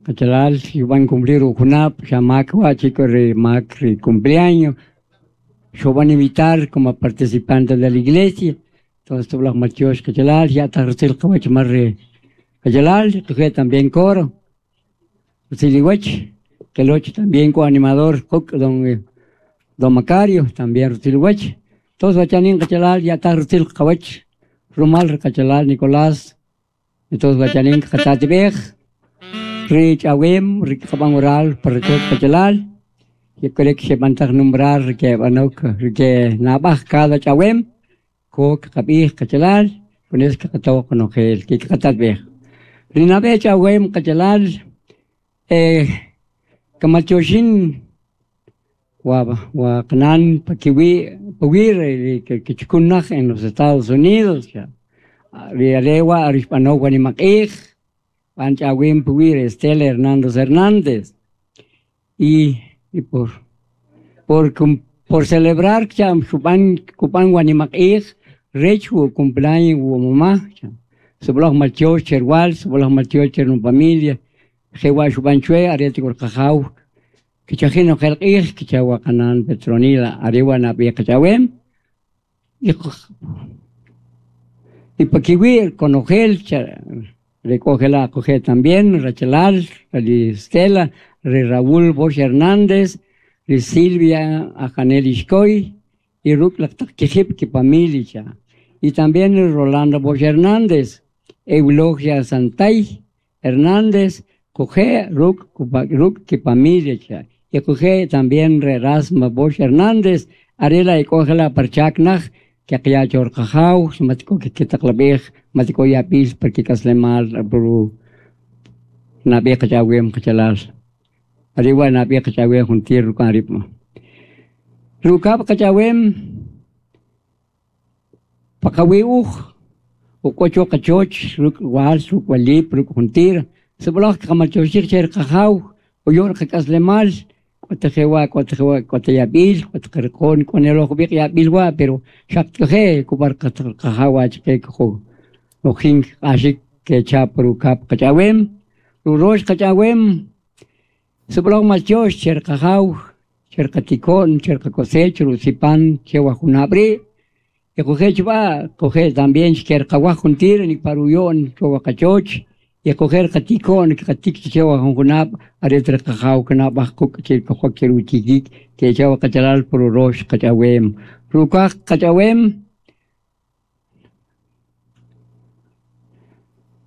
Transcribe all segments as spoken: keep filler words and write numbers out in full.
Qachalal xub'an cumplir ujunab' xa mak wa' chik ri mak ri cumpleaños xub'an invitar como participante de la iglesia. Entonces sib'alaj maltyox qachalal ya'taj rutzil qawach mal ri qachalal quje' también coro rutzil iwach keloch también k'o animador quk' don don Macario también rutzil iwach. Entonces wachanin qachalal ya'taj rutzil qawach rumal ri qachalal Nicolás. Entonces wachanin qatatib'ej ri ch'awem ri qab'an orar par rachoch qachalal y krek xeb'antaj nombrar ke b'anok ke nab'aj cada ch'awem ko qab'ij qachalal con eso qataw qonojel ke qatatb'ej ri nab'e ch'awem qachalal eh kamaltyoxin wa wa qnan pakiwi pawi ri kichkun naj en los Estados Unidos ri arewa rixb'anow wanimaq'ij b'an ch'awem puwi Estela Hernández Hernández y y por por por celebrar cha xub'an kub'an wanimaq'ij rech wu cumpleaños wu mamá sib'alaj maltyox cherwal sib'alaj maltyox cher nu familia jewa xub'an chwe are tik'ur qajaw kichajin nojel q'ij kichawa qanan Petronila arewa nab'e qach'awem y y pakiwi konojel recógela coge también Rachelal, ri Estela, ri Raúl Bosch Hernández, ri Silvia Ajanel Ishkoy y Ruk Lactaq ki familia. Y también Rolando Bosch Hernández, Eulogia Santay Hernández, coge Ruk Ruk ki familia. Y coge también Erasmo Bosch Hernández, Arela y cógela parchaknaj, que qya chor qajaw matiko que kitaqlab'ij matiko yapil porque kaslemal puru nab'e qach'awem qachalal ariwa nab'e qach'awem juntir rukan ripma rukab qach'awem paqawi uj uk'ocho qachoch ruk' wal ruk' walip ruk' juntir sib'alaj qamaltyoxij cher qajaw uyor qak'aslemal k'otajewa k'otajewa k'otayab'il k'otaqarqon k'oneloj b'iq yab'il wa pero xaqt'je kubar qajawa chqe k'o ojin q'axik ke cha rukab qach'awem rurox qach'awem sib'alaj maltyox cher qajaw cher qatikon cher qakosech rusipan chewa junab'ri y quje chb'a quje también xker qawaj juntir nikparuyon chowa qachoch y coger qatikon qatik chewa junab aretre qajaw kanab'aj kuk chir qojok chiruchikik ke chawa qachalal pururox qach'awem rukaj qach'awem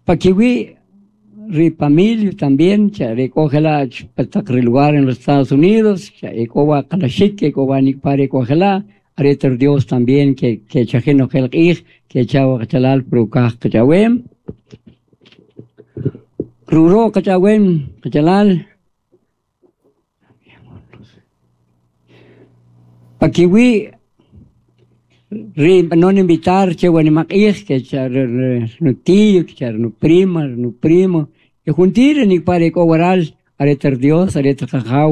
pakiwi ri familia también cha recógela pataq ri lugar en los Estados Unidos cha ekowa qalaxik ekowa nikpar ekogela areter Dios también que que chajino q'ij que chawa qachalal purukaj qach'awem Ruro qach'awem qachalal pakiwi ri non invitar che wanimaq'ij que cha nu tío que cha nu prima nu primo y juntir nikpar ekowaral areter Dios areter qajaw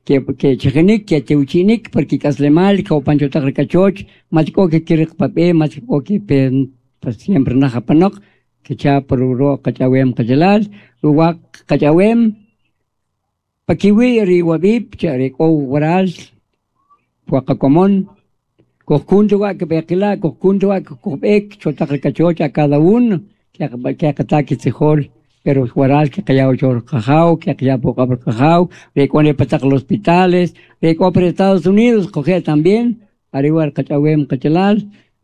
que que chajinik que teuchinik porque kaslemal que opanchotaq rikachoch matiko que kiriq pap'e matiko que pen siempre najapanok que cha pururo qach'awem qachalal ruwaq qach'awem pakiwi ri wab'ib cha ri k'o waral puaqakomon kojkuntuwa que beqila kojkuntuwa kojb'ek chotaq rikachoch a cada uno que que qataki tzijol pero waral que qayaw chor qajaw que qayaw puqab qajaw ri pataq los hospitales ri k'o por Estados Unidos coge también arriba qach'awem qachalal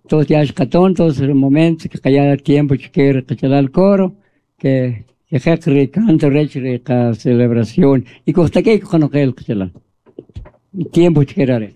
todos ya xqaton todos el momento que qaya tiempo chker qachalal coro que que jeq ri canto rech ri qa celebración y kojtak'ek qonojel qachalal tiempo chkerare.